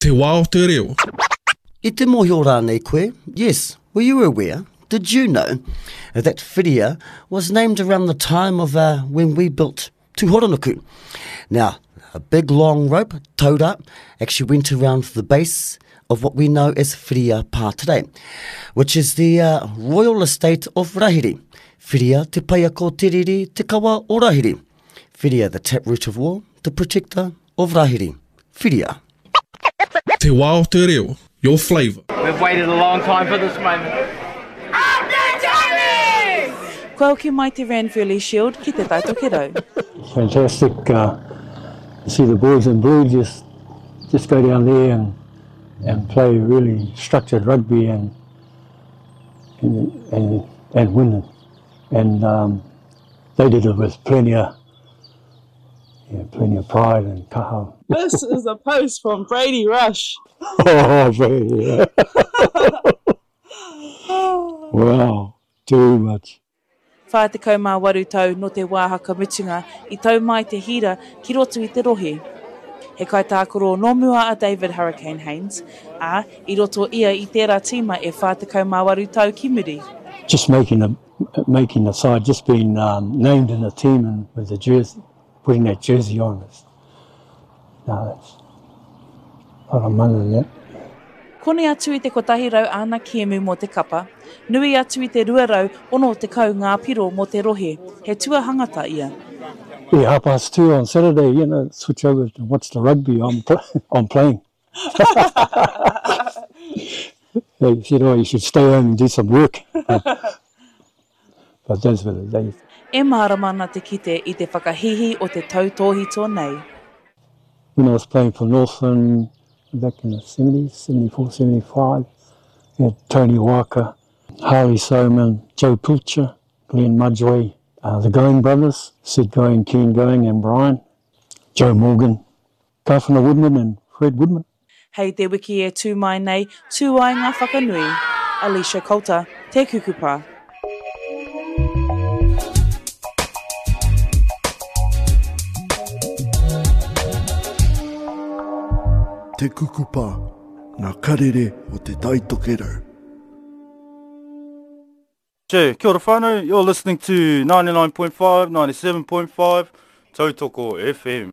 Te wā o te reo. I te mōhio rānei koe? Yes, were you aware? Did you know that Whiria was named around the time of uh, when we built Tūhoronuku? Now, a big long rope, taura, actually went around the base of what we know as Whiria Pā today, which is the uh, royal estate of Rahiri. Whiria te paiako te riri te kawa o Rahiri. Whiria the taproot of war, the protector of Rahiri. Whiria. Te wā o te reo, your flavour. We've waited a long time for this moment. Up the Tommies! Kua hoki mai te Ranfurly Shield ki Te Tai Tokerau. Fantastic uh, to see the boys in blue just just go down there and and play really structured rugby and and and, and win. And um, they did it with plenty of yeah, plenty of pride and kaha. This is a post from Brady Rush. oh, Brady. wow, too much. 48 tau nō te wā hakamutunga i tau mai te hira ki roto i te rohe. He kaitākaro nō mua a David Hurricane Haynes, ā, i roto ia i tērā tīma e 48 tau ki muri. Just making the, making the side, just being um, named in the team and with the jersey, putting that jersey on. It's, no, it's a lot of money in that. Koni atu i te 100 āna kēmu mō te kapa, nui atu i te 260 ngā piro mō te rohe, he tuahangata ia. Yeah, half past two on Saturday, you know, switch over to watch the rugby, I'm, pl I'm playing. they said, oh, you should stay home and do some work. but those were the days. E mārama ana te kite i te whakahīhī o te tautōhito nei. When I was playing for Northland back in the 70s, 74, 75, we had Tony Walker, Harley Soman, Joe Pilcher, Glenn Mudgeway, uh, the Going brothers, Sid Going, Ken Going and Brian, Joe Morgan, Kawhana Woodman and Fred Woodman. Hei te wiki e tū mai nei, tū ai ngā whakanui. Alicia Coulter, Te Kukupa. Te Kukupa, ngā karere o Te Tai Tokerau. Che, kia ora whānau, you're listening to 99.5, 97.5, Tautoko FM.